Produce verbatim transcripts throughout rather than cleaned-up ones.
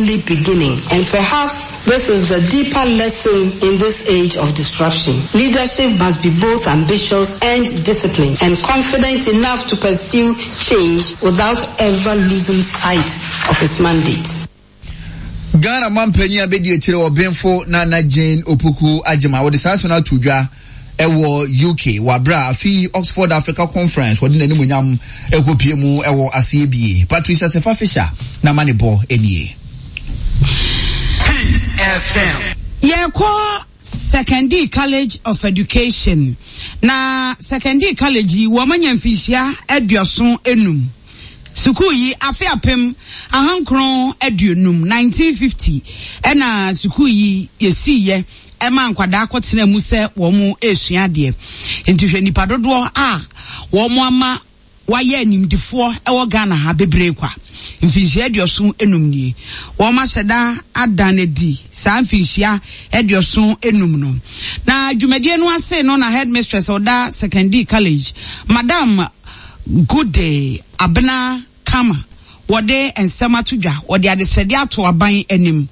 only beginning. And perhaps this is the deeper lesson in this age of disruption. Leadership must be both ambitious and disciplined and confident enough to pursue change without ever losing sight of its mandate. Ghana mampanyin abedi akyire ɔbenfo Nana Jane Opoku Agyema wɔde saa asɛm no ato dwa ɛwɔ U K wɔ abere a afi Oxford Africa Conference wɔde n'animonyam ɛkɔpie mu ɛwɔ aseɛ bie. Patricia Sefa Fisher na ma ne bɔ nie. Peace F M. Yɛkɔ Sekondi College of Education, na Sekondi College yi, wɔn anya mfinhyia aduɔson enum. Sukuu yi, afe apem ahankron aduonum, nineteen fifty, ɛna sukuu yi yɛsiiɛ ɛma nkwadaa kɔtena mu sɛ wɔn esua adeɛ. Nti hwɛ nipa dodoɔ a wɔn ama wayɛ animdifoɔ ɛwɔ Ghana ha bebree kwa. Mfinhyia aduɔson enum nie wɔn ahyɛ da ada n'adi saa mfinhyia aduɔson enum no. Na dwumadie no ase no, na headmistress ɔda Sekondi College, Madam Goode Abena Kama, wɔde nsɛm ato dwa, wɔde adesrɛde ato aban anim,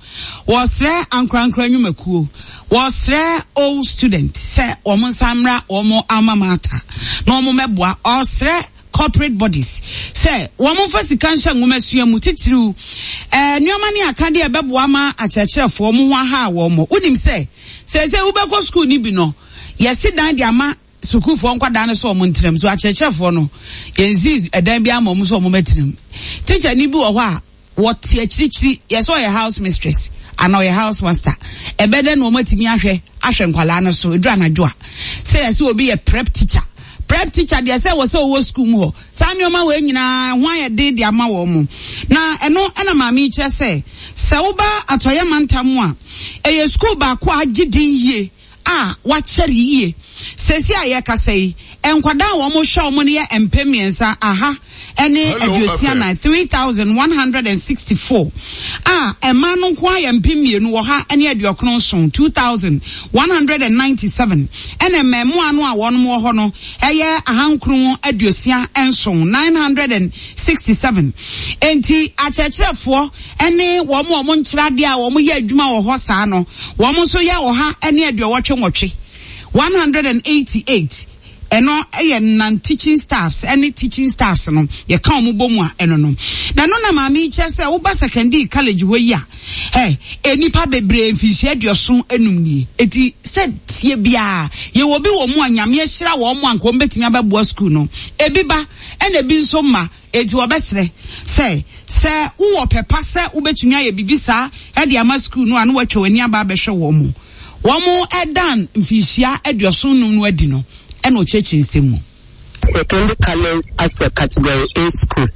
wɔsrɛ ankorankora nnwumakuo, wɔsrɛ old student sɛ wɔn nsa mmra wɔn alma mater na wɔn mmɛboa, ɔsrɛ corporate bodies sɛ wɔn mfa sika nhyɛ nwomasua mu, titiriw ɛɛ nneɛma ne akadeɛ ɛbɛboa ma akyerɛkyerɛfoɔ mo ho aha wɔn mo. Wonim sɛ sɛ sɛ wobɛkɔ sukuu ni bi no, yɛsi dan de ama sukuufoɔ nkwadaa no sɛ ɔmo ntenam so. Akyerɛkyerɛfoɔ no, yɛnsi ɛdan bi ama ɔmo sɛ ɔmo bɛtenam. Teacher ni bi wɔ hɔ a wɔte akyirikyiri, yɛsɛ ɔyɛ house mistress ana ɔyɛ house master, ɛbɛdɛ na wɔn atumi ahwɛ ahwɛ nkwadaa no so eduru anadwo a? Sɛ yɛsɛ obi yɛ prep teacher, prep teacher deɛ, sɛ wɔ sɛ ɔwɔ sukuu mu hɔ. Saa nneɛma wɔ nyinaa ho ayɛ den de ama wɔn mo. Na ɛno ɛna maame yi kyerɛ sɛ sɛ woba Atɔyɛ mantam a, ɛyɛ sukuu baako a agye din yie a wakyɛre yie. Sɛsi a yɛkasa yi, nkwadaa a wɔn hwɛ wɔn no yɛ mpem mmiɛnsa aha ɛne aduosia nan, three thousand one hundred and sixty four, a mmaa no nko ayɛ mpem mmienu wɔ ha ɛne aduokron nson, two thousand one hundred and ninety seven, ɛna mmaamua no a wɔn wɔ hɔ no ɛyɛ ahankron aduosia nson, nine hundred and sixty seven. Nti akyerɛkyerɛfoɔ ɛne wɔn a wɔn nkyerɛ adeɛ a wɔn yɛ adwuma wɔ hɔ saa no, wɔn nso yɛ ɔha ɛne aduɔwɔtwe nwɔtwe, one hundred and eighty eight. Ɛno yɛ non teaching staffs ɛne teaching staffs no, yɛka wɔn bɔ mu a, ɛno no. Na ɛno na maame yi kyerɛ sɛ woba Sekondi College hɔ yi a, ɛ enipa bebree, mfinhyia aduɔson enum nie. Eti sɛ tie biara, yɛwɔ bi wɔ mu a Nyame ahyira wɔn mu a nka wɔn bɛtumi abɛboa sukuu no. Ebi ba, ɛna ebi nso ma. Eti wɔbɛsrɛ sɛ sɛ wowɔ pɛpa sɛ wobɛtumi ayɛ biribi saa ɛde ama sukuu no a, na wɔatwa w'ani aba abɛhwɛ wɔn mu. Wɔn ɛdan mfinhyia aduɔson num no adi no, ɛna ɔkyerɛkyerɛ nsɛm mu. Sekondi College as a Category A school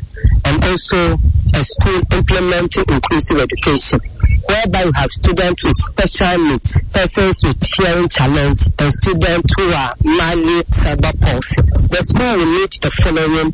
and also a school implementing inclusive education, whereby you have students with special needs, persons with hearing challenge, and students who are mildly cerebral palsy. The school will need the following